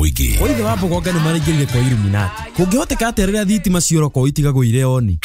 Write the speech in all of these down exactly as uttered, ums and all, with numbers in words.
Mũingĩ. Kwa ithe wa Mbogonga nĩ maraingĩrire kwa Illuminati. Kũngĩhoteka atĩa rĩrĩa thitima ciora itigagwo irĩ oni?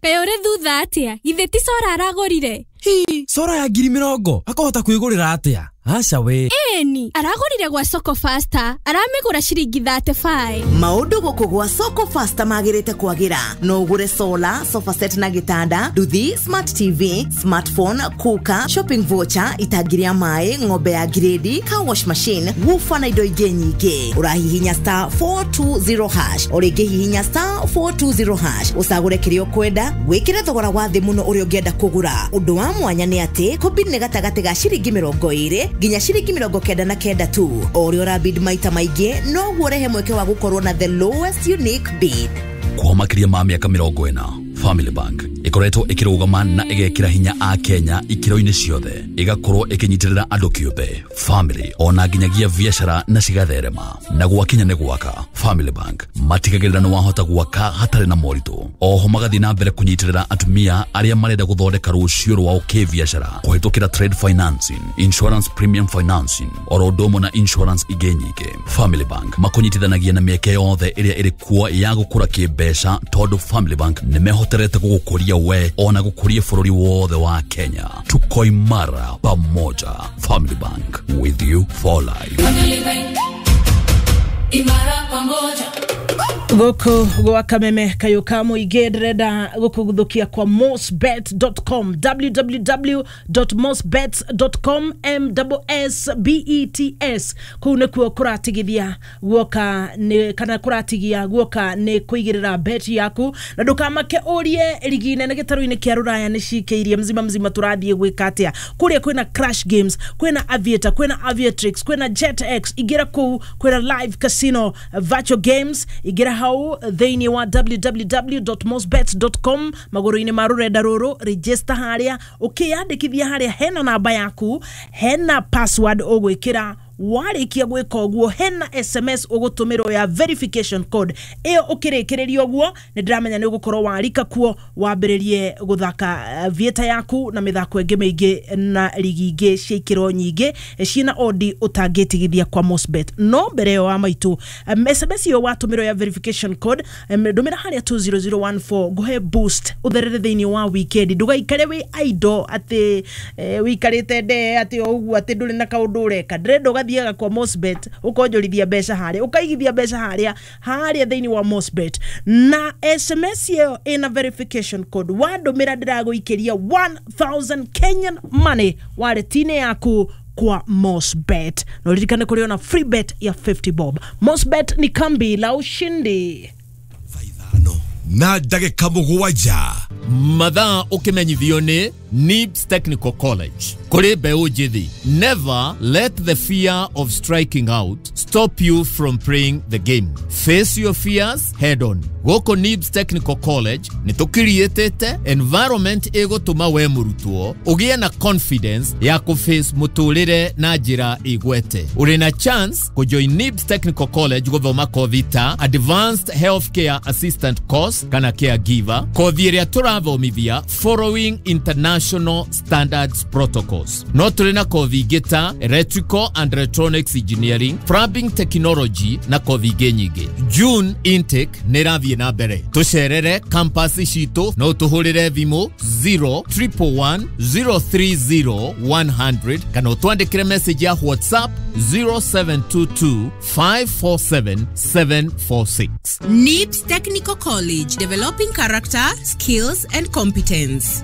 Kaĩ ũrĩ thutha atĩa? Githĩ ti cora aragũrire? Hi, cora ya ngiri mĩrongo akahota kwĩgũrĩra atĩa? Aca we. Ĩni, aragũrire gwa Soko Faster, aramĩgũra ciringi thirty-five. Maũndũ gũkũ gwa Soko Faster magĩrĩte kwagĩra. No ũgũre solar, sofa set na gĩtanda, nduthi, smart T V, smartphone, cooker, shopping voucher, itangi rĩa maĩ, ng'ombe ya grade, car wash machine, woofer na indo ingĩ nyingĩ. Ũrahihinya star four two zero hash, o rĩngĩ hihinya star four two zero hash, ũcagũre kĩrĩa ũkwenda, wĩkĩre thogora wa thĩ mũno ũrĩa ũngĩenda kũgũra. Ũndũ wa mwanya nĩ atĩ kũbid nĩ gatagatĩ ga ciringi mĩrongo ĩrĩ nginya ciringi mĩrongo kenda na kenda tu. O ũrĩa ũrabid maita maingĩ noguo ũrehe mweke wa gũkorwo na the lowest unique bid. Kwa makĩria ma mĩaka mĩrongo ĩna, Family Bank ĩkoretwo ĩkĩrũgama na ĩgekĩra hinya a Kenya ikĩro-inĩ ciothe, ĩgakorwo ĩkĩnyitĩrĩra andũ kĩũmbe, family ona nginyagia biacara na cigatherema. Na gwakinya nĩ gwaka, Family Bank matigagĩrĩra nĩ wahota gwaka hatarĩ na moritũ. Oho magathiĩ na mbere kũnyitĩrĩra atumia arĩa marenda gũthondeka rũciũ rwao kĩbiacara kũhĩtũkĩra trade financing, insurance premium financing, oro ũndũ ũmwe na insurance ingĩ nyingĩ. Family Bank makũnyitithanagia na mĩeke yothe ĩrĩa ĩrĩ kuo ya gũkũra kĩmbeca, tondũ Family Bank nĩ mehoterete gũgũkũria we ona gũkũria bũrũri wothe wa Kenya. Tuko imara pamoja. Family Bank, with you for life. Family Bank, imara pamoja. Gũkũ gwa Kameme kayũ ka mũingĩ ndĩrenda gũkũgũthũkia kwa mosbet dot com, w w w dot mosbets dot com, M S B E T S. Kũu nĩkuo kũratigithia guoka nĩ kana kũratigia guoka nĩ kũigĩrĩra bet yaku, na ndũkamake ũrie rigi nene gĩtarũ-inĩ kĩa rũraya nĩ cikĩirie mzima mzima tũrathiĩ gwĩka atĩa. Kũrĩa kwĩna Crash Games, kwĩna Aviator, kwĩna Aviatrix, kwĩna JetX, ingĩra kũu kwĩna Live Casino, Virtual Games, ingĩra hau thĩinĩ wa w w w dot mosbets dot com magũrũ-inĩ ma rũrenda rũrũ, register harĩa, ũkĩyandĩkithia harĩa hena namba yaku, hena password ũgwĩkĩra. Warĩkia gwĩka ũguo hena S M S ũgũtũmĩrwo ya verification code ĩyo, ũkĩrĩkĩrĩria ũguo nĩ ndĩramenya nĩ ũgũkorwo warika kuo wambĩrĩrie gũthaka vieta yaku na mĩthako ĩngĩ mĩingĩ na rigi ingĩ cia ikĩro nyingĩ ciĩna odi ũtangĩtigithia kwa Mosbet. No mbere ĩyo wa maitũ, um, S M S ĩyo watũmĩrwo ya verification code, um, ndũmĩra harĩa two zero zero one four ngũhe boost ũtherere thĩinĩ wa weekend. Ndũgaikare wĩ idle atĩ eh, wĩikarĩte ndee atĩ o ũguo atĩ ndũrĩ na kaũndũ ũreka. Ndĩrenda ũgathiaga kwa Mosbet ukonjorithia mbeca haria, ukaigithia mbeca haria haria thĩinĩ wa Mosbet na S M S ĩyo ĩna verification code wandũmĩra ndĩragũikĩria one thousand Kenyan money wallet-inĩ yaku kwa Mosbet. Na uririkane kũrĩ ona free bet ya fifty bob. Mosbet ni kambi la ushindi. Na ndagĩka mũgwanja mathaa ũkĩmenyithio nĩ Nibs Technical College. Kũrĩ mbeũ njĩthĩ, never let the fear of striking out stop you from playing the game. Face your fears head on. Gũkũ Nibs Technical College nĩ tũkiriĩtĩte environment ĩgũtũma we mũrutwo ũgĩe na confidence ya kũface mũtũrĩre na njĩra igwete. Ũrĩ na chance kũjoin Nibs Technical College gũthoma kothi ta Advanced Healthcare Assistant Course kana Caregiver, kothi ĩrĩa tũrathomithia following international standards protocols. No tũrĩ na kothi ingĩ ta Electrical and Electronics Engineering, Plumbing Technology na kothi ingĩ nyingĩ. June intake nĩ ĩrathiĩ na mbere. Tũcerere campus citũ no tũhũrĩre thimũ zero triple one zero three zero one hundred kana ũtwandĩkĩre message ya WhatsApp zero seven two two five four seven seven four six. Nibs Technical College, developing character, skills and competence.